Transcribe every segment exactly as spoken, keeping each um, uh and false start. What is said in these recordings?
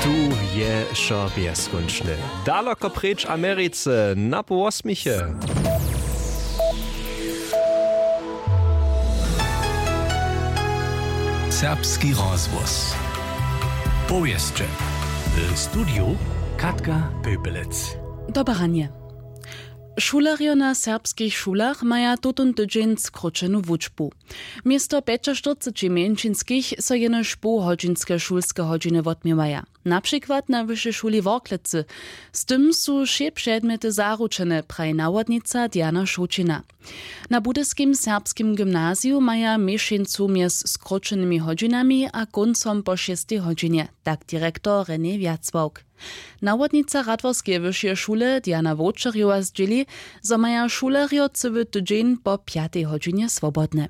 Tu je wšo bjezkónčne. Daloko preč Americe, na pół wosmiche. Serbski rozhłos. Powěsće. W studiju Katka Pepelec. Dobre ranje. Šulerjo na serbskich šulach maja tutón tydźeń skróćenu wučbu. Město pjećaštyrceći mjeńšinskich so jenož połhodźinske šulske hodźiny wotměwaja. Na přikład na wyšej šuli Worklecy. Z tym su wšě předmjety zaručene, praji nawodnica Diana Šołćina. Na budyskim serbskim gymnaziju maja měšeńcu mjez skróćenymi hodźinami a kóncom po šěstej hodźinje, tak direktor René Wjacławk. Nawodnica Radworskeje wyšeje šule Diana Wowčerjowa zdźěli, zo maja šulerjo cyły tydźeń po pjatej hodźinje swobodne.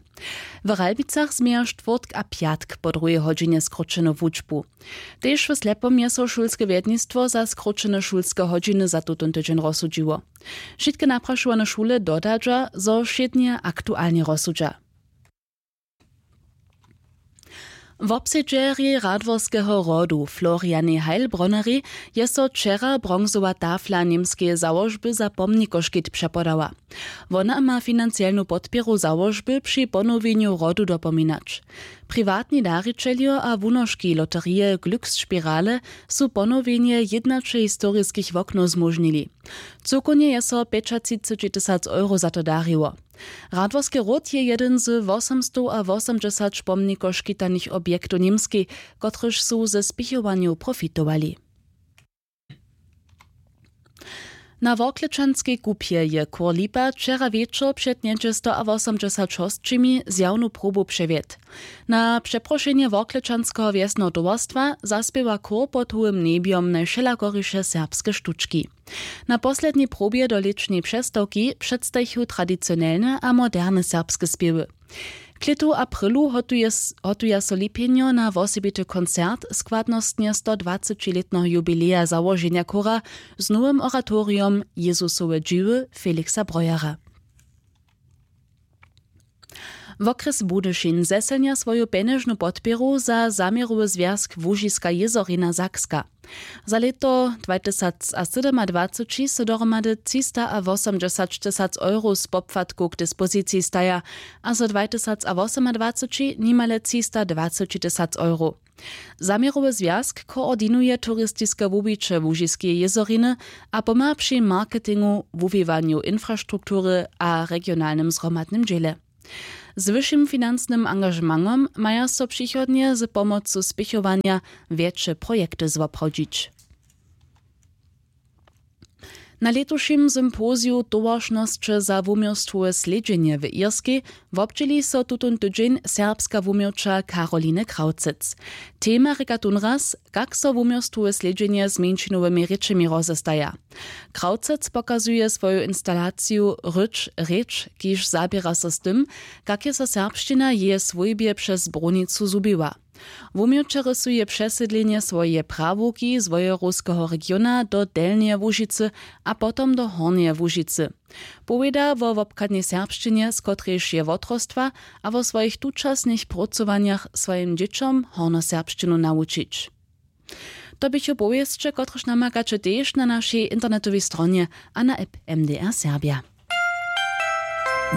W Ralbicach změja štwórtk a pjatk po druhej hodźinje skróćenu wučbu. Tež w Slepom je so šulske wjednistwo za skróćene šulske hodźiny za tutón tydźeń rozsudźiło. Wšitke naprašowane šule dodadźa, zo wšědnje aktualnje rozsudźa. Wobsedźerjej Radworskeho rodu Florianej Heilbronnerej je so wčera bronzowa tafla němskeje załožby za pomnikoškit přepodała. Wona ma financielnu podpěru załožby při ponowjenju rodu dopominać. Priwatni darićeljo a wunoški loterije Glücksspirale su ponowjenje jědnaće historiskich woknow zmóžnili. Cyłkownje je so pjećatřiceći tysac euro za to dariło. Radworski ród je jedyn z wosomstowawosomdźesać pomnikoškitanych objektow Němskej, kotryž su ze spěchowanjow profitowali. Na Worklečanskej kupje je chór Lipa wčera wječor před něhdźe stowosomdźesać hosćimi zjawnu probu přewjedł. Na přeprošenje Worklečanskeho wjesneho towarstwa zaspěwa chór pod hołym njebjom najwšelakoriše serbske štučki. Na poslednjej probje do lěćneje přestawki předstajichu tradicionelne a moderne serbske spěwy. K lětu a prylu hotuje s-, hotuja so Lipjenjo na wosebity koncert składnostnje stodwacećilětneho jubileja załoženja chóra z nowym oratorijom Jezusowe dźiwy Felixa Brojera. Wokrjes Budyšin zeselnja swoju pjenježnu podpěru za zaměrowy zwjazk Łužiska jězorina Sakska. Za lěto dwajtysacsydomadwaceći so dohromady třistawosomdźesaćtysac euro z popłatkow k dispoziciji staja a zo dwajtysacwosomadwaceći nimale třistadwacećitysac euro. Zaměrowy zwjazk koordinuje turistiske wuwiće Łužiskeje jězoriny a pomha při marketingu, wuwiwanju infrastruktury a regionalnym zhromadnym dźěle. Z wyšim financnym angažementom maja so přichodnje z pomocu spěchowanja wjetše projekty zwoprawdźić. Na lětušim sympoziju towaršnosće za wuměłstwowe slědźenje w Irskej wobdźěli so tutón tydźeń serbska wuměłča Karoline Krawcec. Tema rěka tónraz, kak so wuměłstwowe slědźenje z mjeńšinowymi rěčemi rozestaja. Krawcec pokazuje swoju instalaciju Rěč, rěč, kiž zaběra so z tym, kak je so serbšćina w jeje swójbje přez brunicu zhubiła. Wuměłćerjo su je přesydlenje swojeje prawowki z wojerowskeho regiona do Delnjeje Łužicy a potom do Hornjeje Łužicy. Powěda wo wobchadnej serbšćinje, z kotrejž je wotrostwa, a wo swojich tučasnych prócowanjach swojim dźěćom hornjoserbšćinu nawučić. To běchu powěsće, kotrež namakaće tež na našej internetowej stronje a na app M D R Serbia.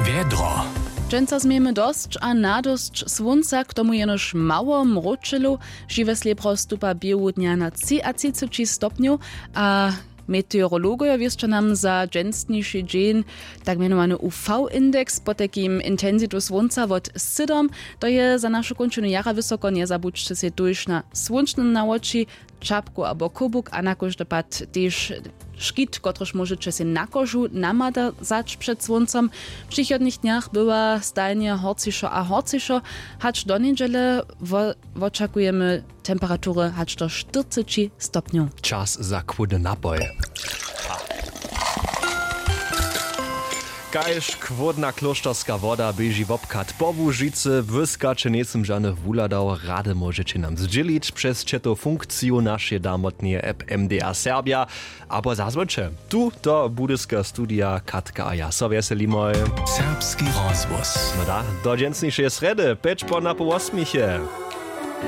Wjedro. Dźensa změjemy dosć a nadosć słónca, k tomu jenož mało mróčelu. Žiwe slěbro stupa běhu dnja na třiatřiceći stopnjow a meteorologojo wěsća nam za dźensniši dźeń tak mjenowany U V indeks, potajkim intensitu słónca wot sydom. To je za našu kónčinu jara wysoko, njezabudźće sej tuž na słónčne nawoči, čapku abo kobuk a na kóždy pad tež škit, kotryž móžeće sej na kožu namadazać před słóncom. W přichodnych dnjach bywa stajnje horcišo a horcišo, hač do njedźele wo-, wočakujemy temperatury hač do štyrceći stopnjow. Čas za chłódny napoj. Kaž chłódna klóšterska woda běži wobchad po Łužicy, wyskaće njejsym žanych wuhladał, rady móžeće nam zdźělić přez ćetow funkciju našeje damotneje app M D R Serbia abo zazwońće tu do budyska studija. Katka a ja so wjeselimoj. Serbski rozhłos. No da, do dźensnišeje srjedy pjeć po napoł wosmiche.